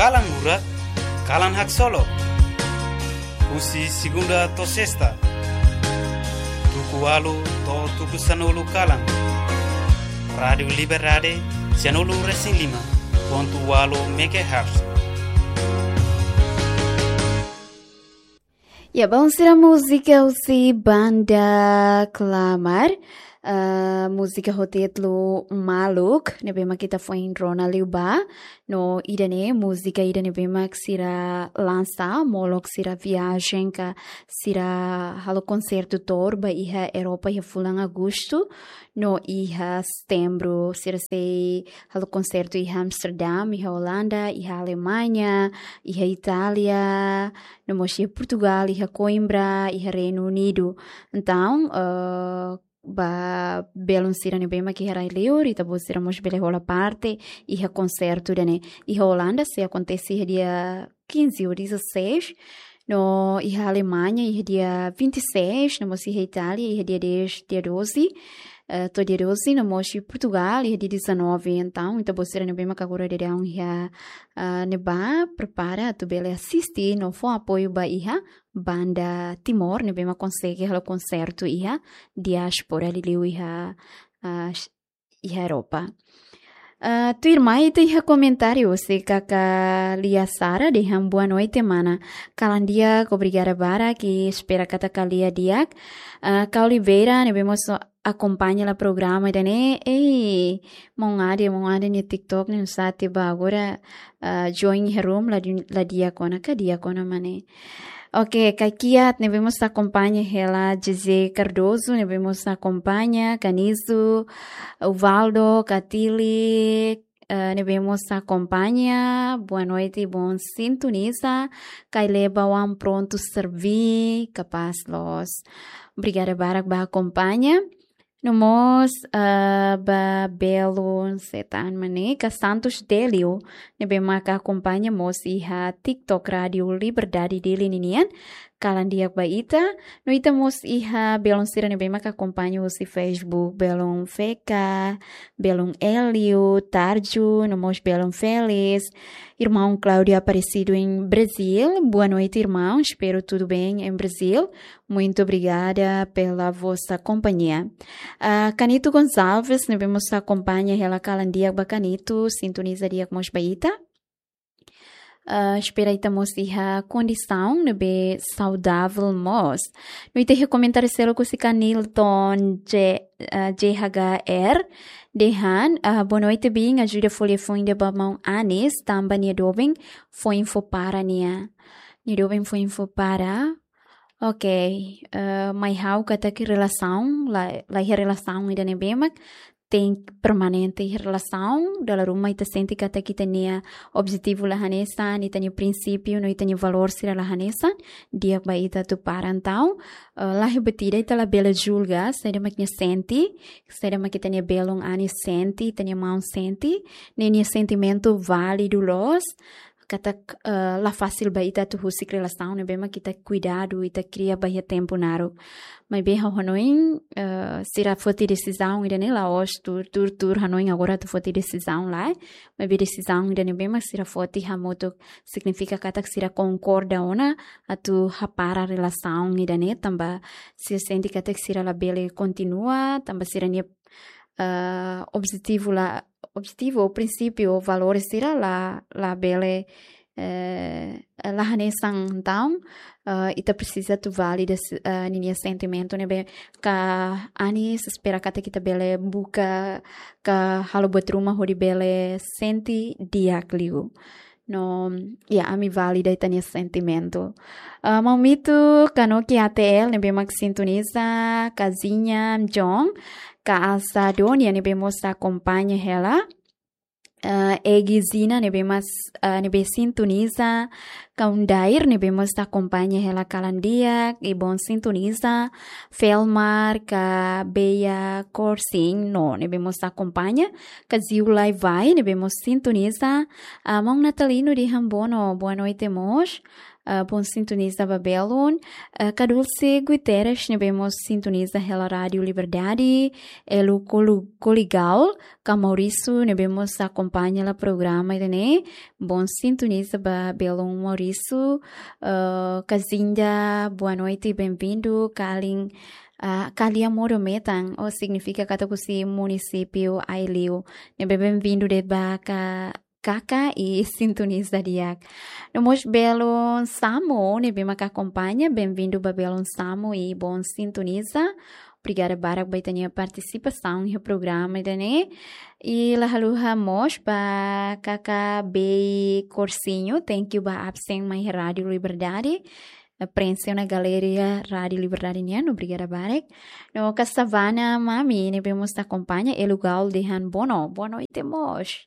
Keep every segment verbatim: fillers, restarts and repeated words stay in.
Kalan Lurak, Kalan Haksolok. Husi segunda to'o sesta, tuku ualu to'o tuku sanulu kalan. Rádiu Liberdade, sianulu resin lima pontu ualu megahertz. Ya, baun sira, múzika husi banda Klamar. Ah, múzika ho títulu Maluk, ne'ebé mak ita foin rona liu ba. No ida-ne'e múzika ida ne'ebé mak sira lansa, molok sira viajen ka sira halo konsertu tour ba iha Europa iha fulan Agostu. No iha Setembru sira sei halo konsertu iha Amsterdam, iha Olanda, iha Alemaña, iha Itália, no mós iha Portugal, iha Coimbra, iha Reinu Unidu. Entaun, eh, ba belun sira ne'ebé mak iha rai-liur, ita-boot sira mós bele hola parte iha konsertu ida-ne'e. Iha Olanda sei akontese iha dia quinze ou dezasseis, no iha Alemaña iha dia vinte e seis, no mós iha Itália iha dia dez, dia doze, eh, to'o dia doze, no mós iha Portugal iha dia dezanove. Entaun, ita-boot sira ne'ebé mak agora daudaun iha, ah, ne'ebá, prepara atu bele asiste no fó apoiu ba iha banda Timor ne'ebé mak konsege halo konsertu iha diáspora liuliu iha, ah, iha Europa. Ah, tuirmai ita iha komentáriu husi kaka Lia Sara dehan boa noite mana. Kalan di'ak, obrigada barak, i espera katak kalan di'ak. Ah, Kau Oliveira ne'ebé mós akompaña hela programa ida-ne'e. Ei, maun Ade, maun Ade nia TikTok ne'e nusá tiha ba agora, ah, join iha room, la di-, la di'ak ona ka di'ak ona mak ne'e. Oke, Kak Kiat ne'ebé mós akompaña hela, José Cardoso ne'ebé mós akompaña, Canizo, Uvaldo, Katili, eh, ne'ebé mós akompaña, boa noite, bom sintoniza, Kaileba wan prontu serví, kapás loos. Obrigada barak ba akompaña. No mós, ah, ba belun setan manika Santos Delio, ne'ebé maka akompaña mós iha TikTok Rádiu Liberdade Dili ninian. Kalan di'ak ba ita, no ita mós iha belun sira ne'ebé maka akompaña husi Facebook, belun Feka, belun Elio, Tarju, no mós belun Felis, irmão Cláudio Aparecido em Brasil. Boa noite, irmão. Espero tudo bem em Brasil. Muito obrigada pela vossa companhia. Ah, Canito Gonçalves, ne'ebé mós akompaña hela, kalan di'ak ba Canito, sintoniza di'ak mós ba ita. Ah, espera ita mós iha kondisaun ne'ebé saudável mós. No ita iha komentáriu seluk husi Kanilton J-, ah, J H R, dehan, ah, boa noite, bin, ajuda fó liafuan ida ba maun Anis, tanba nia doben foin fó para nia. Nia doben foin fó para. Oke, eh, mai ha'u katak relasaun, la, la iha relasaun ida ne'ebé mak tenke permanente iha relasaun, dala ruma ita sente katak ita-nia objetivu la hanesan, ita-nia prinsípiu no ita-nia valór sira la hanesan, di'ak ba ita atu para. Entaun, eh, la iha buat ida ita labele julga saida mak nia sente, saida mak ita-nia belun Anis sente, ita-nia maun sente, ne'e nia sentimentu válidu loos, katak, eh, la fasil ba ita atu husik relasaun ne'ebé mak ita kuidadu, ita kria ba iha tempu naruk. Maibé ha'u hanoin, eh, sira foti desizaun ida-ne'e la'ós tuur, tuur, tuur hanoin agora atu foti desizaun lae. Maibé desizaun ida ne'ebé mak sira foti hamutuk signifika katak sira konkorda ona atu hapara relasaun ida-ne'e, tanba sira sente katak sira labele kontinua, tanba sira-nia, eh, objetivu la, objetivu, prinsípiu, valores sira la, labele, eh, la hanesan. Entaun, eh, ita presiza atu valida, eh, ninia sentimentu ne'ebé ka Anis, espera katak ita bele buka ka halo buat ruma hodi bele sente di'ak liu. No, ya, ami valida ita-nia sentimentu. Ah, maun Mito, Kanoki A T L, ne'ebé mak sintoniza, Kazinha, John, Ka Asa Donia, ne'ebé mós akompaña hela. Ah, Egi Zina, ne'ebé mós, ah, ne'ebé sintoniza, Kaundair, ne'ebé mós akompaña hela kalan di'ak, i bom sintoniza, Felmar, ka Beia Korsing, no, ne'ebé mós akompaña, Kaziu Lai Vai, ne'ebé mós sintoniza, ah, maun Natalino dehan boa no-, boa noite mós. Ah, bon sintoniza ba belun. Ah, Kadulce Guterres ne'ebé mós sintoniza hela Rádiu Liberdade, Elu Colu-, Coligal, ka Maurício ne'ebé mós akompaña hela programa ida-ne'e. Bon sintoniza ba belun Maurício. Ah, Kazinda, boa noite, bem-vindo. Kalin, ah, Kalia Moro Metan, ou signifika katak husi munisípiu Aileu. Ne'ebé bem-vindo de'it ba Ka-, Kaka i sintoniza di'ak. No mós belun Samu ne'ebé mak akompaña, bem-vindo ba belun Samu i bon sintoniza. Obrigada barak ba ita-nia partisipasaun iha programa ida-ne'e. I la haluha mós ba Kaka Bei Corsinho, thank you ba absen mai Rádiu Liberdade. Eh, prenxe ona galeria Rádiu Liberdade nian, obrigada barak. No Kasavana Mami ne'ebé mós akompaña, Elu Gaul dehan bono, boa noite mós.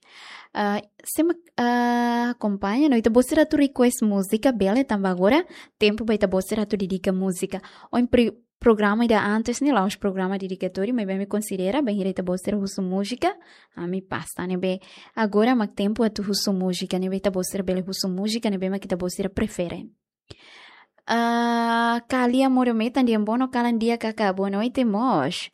Ah, sé mak, ah, akompaña, no ita-boot sira atu request múzika, bele, tanba agora tempu ba ita-boot sira atu dedika múzika. Ohin pri-, programa ida antes ne'e la'ós programa dedikatóriu, maibé ami konsidera, bainhira ita-boot sira husu múzika, ami pasa, ne'ebé agora mak tempu atu husu múzika, ne'ebé ita-boot sira bele husu múzika ne'ebé mak ita-boot sira prefere. Ah, Kalia Moro Metan dehan bono, kalan di'ak Kaka, boa noite mós.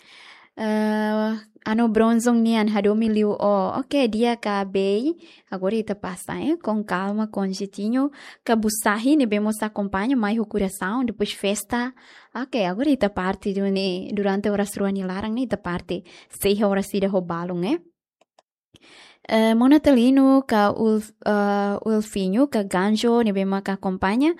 Ah, Ano Bronzong nian hadomi liu ó. Oke, di'ak Kaka Bei. Agora ita pasa, eh, com calma, com jeitinho. Ka Busahi ne'ebé mós akompaña, mai ho korasaun, depois festa. Oke, agora ita parte duni, durante oras rua nia laran ne'e ita parte. Sei iha oras ida ho balun, eh. Eh, Mona Telino, ka Ulf-, eh, Ulfinho, ka Ganjo ne'ebé mak akompaña.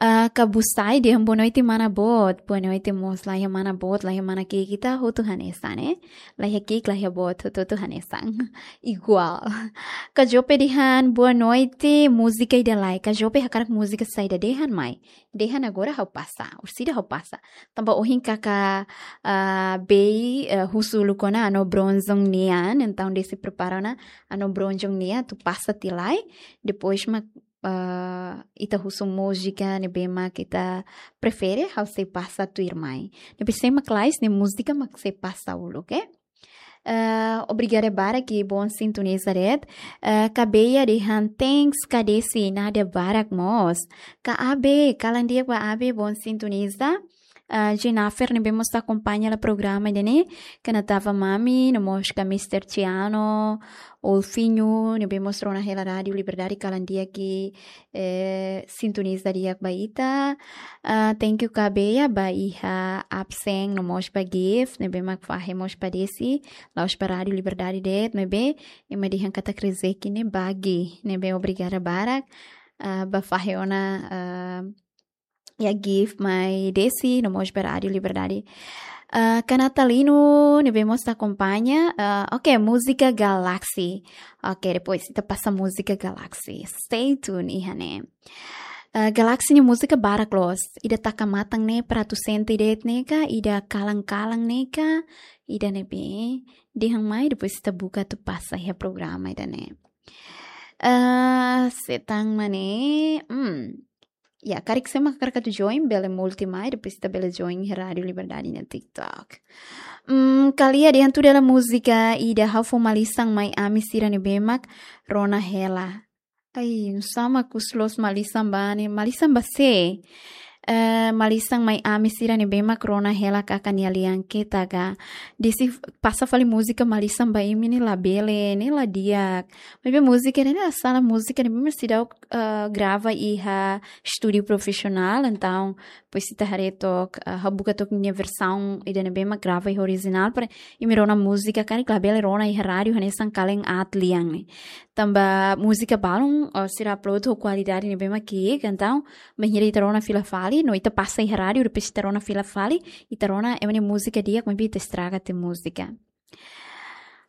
Ah, Ka Busahi dehan boa noite mana boot. Boa noite mós, laiha mana boot, laiha mana ki'ik, ita hotu hanesan, eh. Laiha ki'ik, laiha boot, hotu-hotu hanesan. Igual. Ka Jope dehan boa noite, múzika ida lai. Ka Jope hakarak múzika saida, dehan mai. Dehan agora ha'u pasa, orsida ha'u pasa. Tanba ohin Kaka, ah, Bei, eh, husu uluk ona Ano Bronzong nian, entaun Desi prepara ona Ano Bronzong nian atu pasa tiha lai. Depois mak, ah, ita husu múzika ne'ebé mak ita prefere, ha'u sei pasa tuirmai. Ne'ebé sé mak lais, ne'e múzika mak sei pasa uluk, eh. Eh, obrigada barak i bon sintoniza de'it. Eh, Ka Beia dehan thanks Ka Desi, nada barak mós. Ka Abe, kalan di'ak ba Abe, bon sintoniza. Eh, Jennifer ne'ebé mós akompaña hela programa ida-ne'e. Ka Natava Mami, no mós ka Mister Ciano, Ulfinho ne'ebé mós rona hela Rádiu Liberdade, kalan di'ak i eh, sintoniza di'ak ba ita. Ah, thank you Ka Beia ba iha absen no mós ba gift ne'ebé mak fahe mós ba Desi, la'ós ba Rádiu Liberdade de'it, maibé ema dehan katak rezeki ne'e ba gift, ne'ebé obrigada barak, ah, ba fahe ona, ah, iha gift mai Desi no mós ba Rádiu Liberdade. Ah, Ka Natalino ne'ebé mós akompaña. Ah, oke, múzika Galaxy. Oke, depois ita pasa múzika Galaxy. Stay tuned iha ne'e. Ah, Galaxy nia múzika barak loos. Ida taka matan ne'e para atu sente de'it ne'e ka, ida kalan-kalan ne'e ka, ida ne'ebé dehan mai, depois ita buka atu pasa iha programa ida-ne'e. Ah, sé tan mak ne'e. Hmm. Ya, karik sé mak hakarak atu join, bele multi mai, depois ita bele join iha Rádiu Liberdade nia TikTok. Hmm, Ka Lia dehan tuda hela múzika ida, ha'u fó malisan mai ami sira ne'ebé mak rona hela. Ai, nusá mak husu loos malisan ba ne'e, malisan ba sé? Eh, malisan mai ami sira ne'ebé mak rona hela Kaka nia lian ketak ka. Desi pasa fali múzika malisan ba imi ne'e labele, ne'e la di'ak. Maibé múzika ne'e, ne'e asala múzika ne'ebé mak seidauk, eh, grava iha estúdiu profisionál, entaun, depois ita haree took, eh, ha'u buka took nia versaun ida ne'ebé mak grava iha orijinál, para imi rona múzika karik labele rona iha rádiu, hanesan kalan aat lian ne'e. Tanba múzika balun, eh, sira upload ho kualidade ne'ebé mak ki'ik, entaun, bainhira ita rona fila fali, no ita pasa iha rádiu, depois ita rona fila fali, ita rona ema nia múzika di'ak, maibé ita estraga tiha múzika.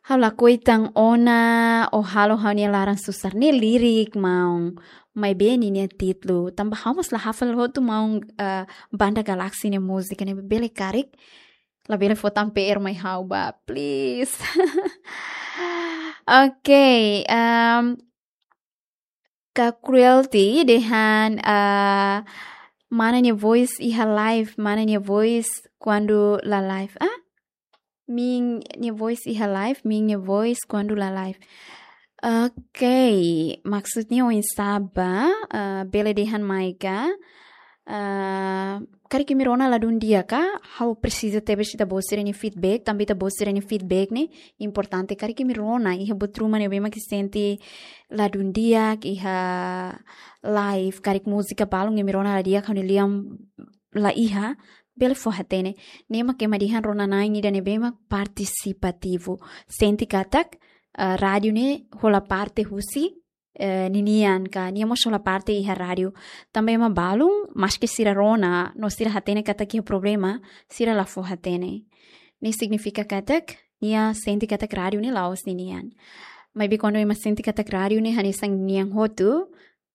Ha'u lakohi tan ona, ó halo ha'u-nia laran susar, ne'e lirik maun, maibé ninia títulu, tanba ha'u mós la hafal hotu maun, eh, banda Galaxy nia múzika, ne'e bele karik, labele fó tan PR mai ha'u ba, please. Oke, em, Ka Cruelty dehan, ah, mana nia voice iha live, mana nia voice kuandu la live. Ah? Min nia voice iha live, min nia voice kuandu la live. Ok, maksudnya oinsá ba, eh, bele dehan mai ka, eh, karik imi rona ladún di'ak ka, ha'u presiza tebes ita-boot sira-nia feedback, tanba ita-boot sira-nia feedback ne'e importante. Karik imi rona iha buat ruma ne'ebé mak sente ladún di'ak iha live, karik múzika balun imi rona la di'ak, ha'u-nia lian la iha, bele fó-hatene. Ne'e mak ema dehan rona-na'in ida ne'ebé mak partisipativu. Sente katak, eh, rádiu ne'e hola parte husi, eh, ninian ka, nia mós hola parte iha rádiu. Tanba ema balun, maski sira rona, no sira hatene katak iha problema, sira la fó-hatene. Ne'e signifika katak, nia sente katak rádiu ne'e la'ós ninian. Maibé kuandu ema sente katak rádiu ne'e hanesan nian hotu,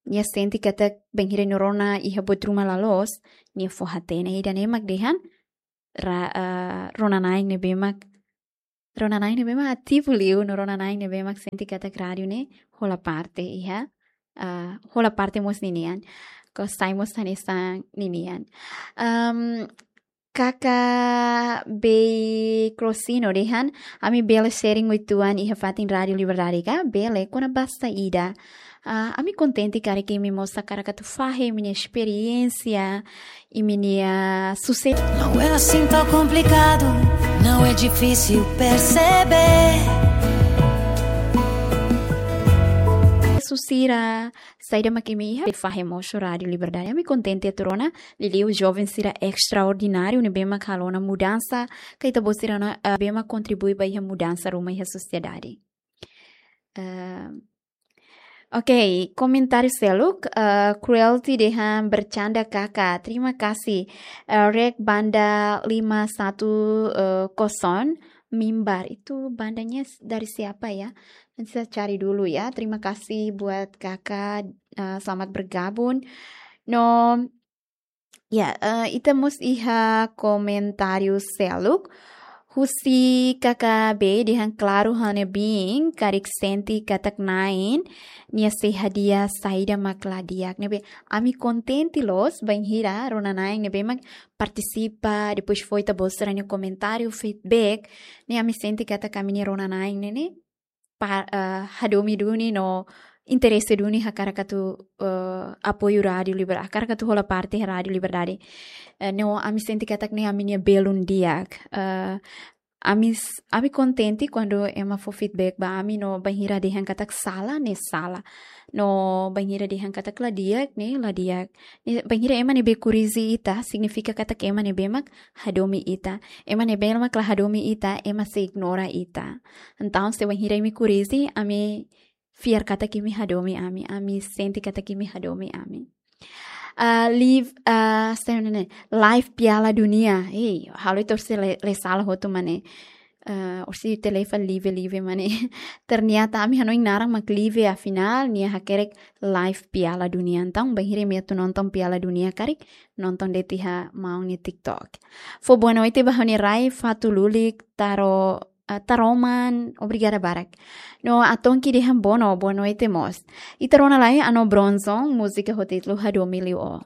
nia sente katak bainhira nia rona iha buat ruma la loos, nia fó-hatene. Ida-ne'e mak dehan, ra-, eh, rona-na'in ne'ebé mak, rona-na'in ne'ebé mak ativu liu, no rona-na'in ne'ebé mak sente katak rádiu ne'e hola parte iha, eh, hola parte mós ninian. Ka sai mós hanesan ninian. Em, Kaka Bei Crosino dehan, ami bele sharing uitoan iha fatin Rádiu Liberdade ka? Bele, kona-ba saida? Ah, ami kontente karik imi mós hakarak atu fahe imi-nia esperiénsia, imi-nia susesu. Não é assim tão complicado, não é difícil perceber. Susesu sira, saida mak imi iha, fahe mós ho Rádiu Liberdade. Ami kontente atu rona, liuliu joven sira estraordináriu ne'ebé mak halo ona mudansa, ka ita-boot sira ona, eh, ne'ebé mak kontribui ba iha mudansa ruma iha sosiedade. Eh, ok, komentáriu seluk, eh, Cruelty dehan bercanda kaka. Terima kasih. Eh, Rek Banda lima satu, eh, kosong, Mimbar. Itu bandanya s-, dari siapa ya? Nanti saya cari dulu ya. Terima kasih buat Kakak, eh, selamat bergabung. No, ya, eh, ita mós iha komentáriu seluk. Husi K K B dehan klaru ha'u-nia biin, karik sente katak na'in nia sei hadi'a saida mak la di'ak. Ne'ebé ami kontente loos, bainhira rona-na'in ne'ebé mak partisipa, depois fó ita-boot sira-nia komentáriu, feedback, ne'e ami sente katak ami-nia rona-na'in ne'e ne'e pa-, eh, hadomi duni no interese duni hakarak atu, eh, apoiu Rádiu Liber-, hakarak atu hola parte Rádiu Liberdade. Eh, no ami sente katak ne'e ami-nia belun di'ak. Eh, ami s-, ami kontente kuandu ema fó feedback ba ami no bainhira dehan katak sala, ne'e sala. No bainhira dehan katak la di'ak, ne'e la di'ak. Ne'e bainhira ema ne'ebé korrije ita, signifika katak ema ne'ebé mak hadomi ita. Ema ne'ebé mak la hadomi ita, ema sei ignora ita. Entaun, se bainhira imi korrije, ami fiar katak imi hadomi ami, ami sente katak imi hadomi ami. Ah, live, ah, se ne'e, live Piala Dunia. Ei, halo itu se le, le sala hotu mane. Ah, orsida ita fali live, live mane. Ternyata ami hanoin naran mak live, afinál, nia hakerek live Piala Dunia. Entaun, bainhira imi atu nonton Piala Dunia karik, nonton de'it iha maun nia TikTok. Fó boa noite ba ha'u-nia rai, Fatu Lulik, Taro, eh, Taroman, obrigada barak. No Atonki dehan boa no, boa noite mós. Ita rona lai Ano Bronson, múzika ho títulu Hadomi Liu Ó.